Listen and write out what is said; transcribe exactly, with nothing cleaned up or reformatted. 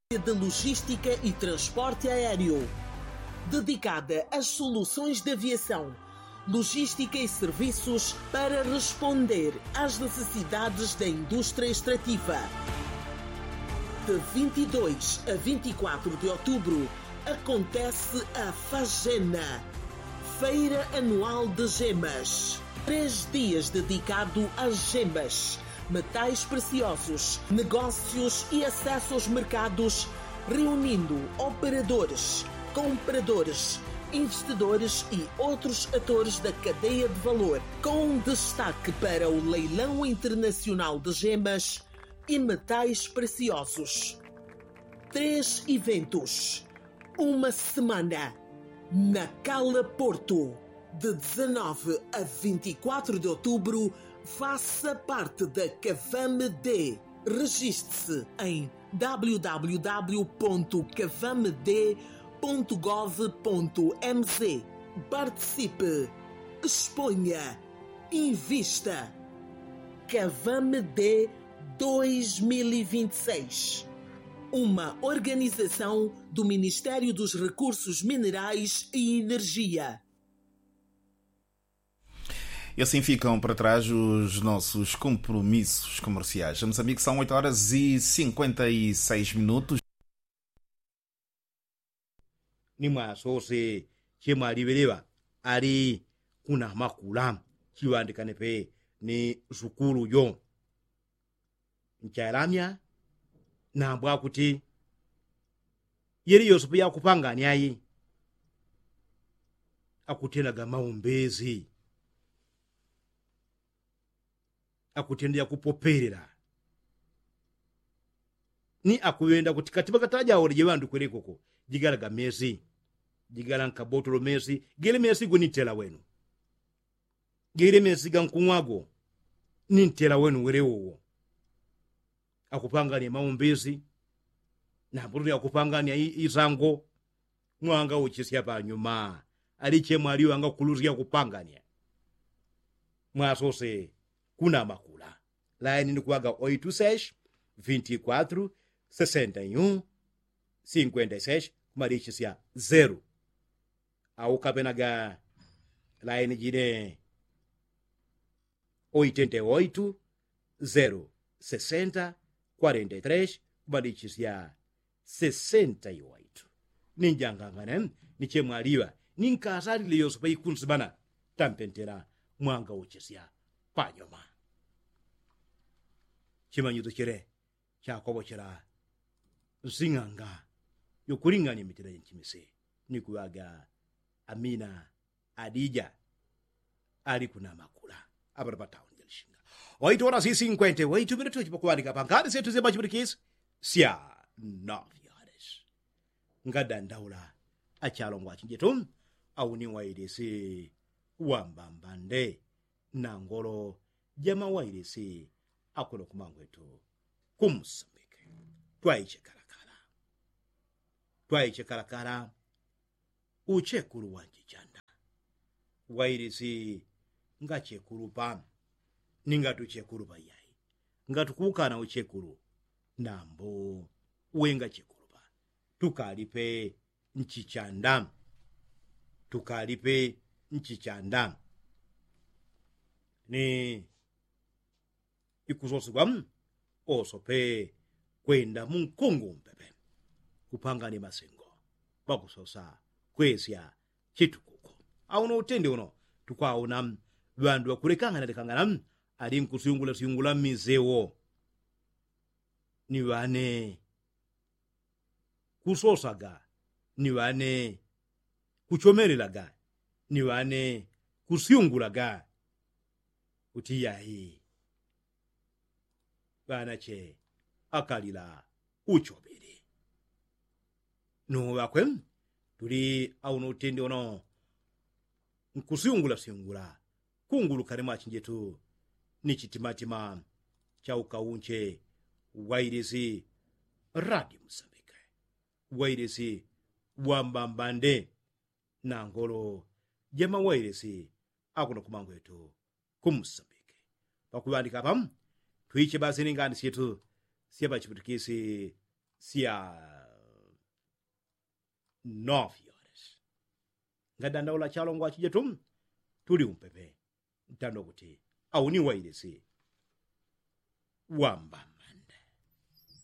de logística e transporte aéreo, dedicada às soluções de aviação, logística e serviços para responder às necessidades da indústria extrativa. De vinte e dois a vinte e quatro de outubro, acontece a Fagena, Feira Anual de Gemas. Três dias dedicado às gemas, metais preciosos, negócios e acesso aos mercados, reunindo operadores, compradores, investidores e outros atores da cadeia de valor, com destaque para o leilão internacional de gemas e metais preciosos. Três eventos, uma semana. Nacala Porto, de dezanove a vinte e quatro de outubro, faça parte da Cavame D. Registre-se em www.cavamd.gov.mz. Participe, exponha, invista. Cavame D dois mil e vinte e seis, uma organização do Ministério dos Recursos Minerais e Energia. E assim ficam para trás os nossos compromissos comerciais. Em Moçambique são oito horas e cinquenta e seis minutos. Ni mwasose chemwaliŵeleŵa ali kuna makula chiŵandikane pe ni sukulu jo. Nchalamya nambwa kuti yeli yose peyakupangani ayi akutenaga maumbezi akutenda yakupopelela ni akuŵenda kuti katiŵa katajawoleje ŵandu kwelekoko jigalaga mesi jigala nkabotolo mesi gele mesi go ni ntela wenu gele mesi ga nkung'wago ni ntela wenu wele wowo akupangania maumbezi na mbutuli akupangania isango mwanga uchisya panyuma aliche mwaliŵanga kulusya kupangania mwasose kuna makula laini ni kuŵaga oitu seis vinti kwatru sesenta yu sinkwenta seis kumalisisya zeru au kapenaga laini jine oitenta oitu zeru sesenta kwarenta tres kumalisisya sesenta i oitu ni njangangane ni chemwaliŵa ni nkasalile yose paikunsimana tampentela mwanga uchisya panyuma. Chimanyiso chile chakopochela nsing'anga yokuling'anya mitila jenchimise ni kuŵaga amina adija ali kunamakula apano patauni jalishinga waitola sisi nkwente waitumbile tuchipa kuŵandika pangani setu syapachipitikisi sya nafyales ngadandaula achalongwa achinjetu auni wailisi wambambande nangolo jamawailisi akuno kumangwetu kumusambike twaiche kalakala twaiche kalakala uchekulu wa nchichanda wailisi ngachekulu pa ni ngatuchekulu pa yai ngatukuukana uchekulu nambo we ngachekulu pa tukalipe nchichanda tukalipe nchichanda ni ikusosegwa oso pe kwenda munkungu mpepe kupangani masengo pakusosa kwesya chitukuku auno utende uno tukwaona ŵandu ŵakulekangana lekangana ali nkusyungula syungula mmisewo ni ŵane kusosaga ni ŵane kuchomelelaga ni ŵane kusyungulaga kuti yai ŵanache akalila uchobili nuŵakwe tuli auno utende uno nkusyungula syungula kungulukane mwachinjetu ni chitimatima cha ukaunche wailisi radio musambike wailisi wambambande na ngolo jamawailisi akuno kumangwetu kumusambike pakuŵandika apa twiche basi ni ngani syetu syapachiputikisi sya nofi horas. Ngadandaula chalongwa chije tu tuli umpepe. Ntando kuti au ni wailisi wamba.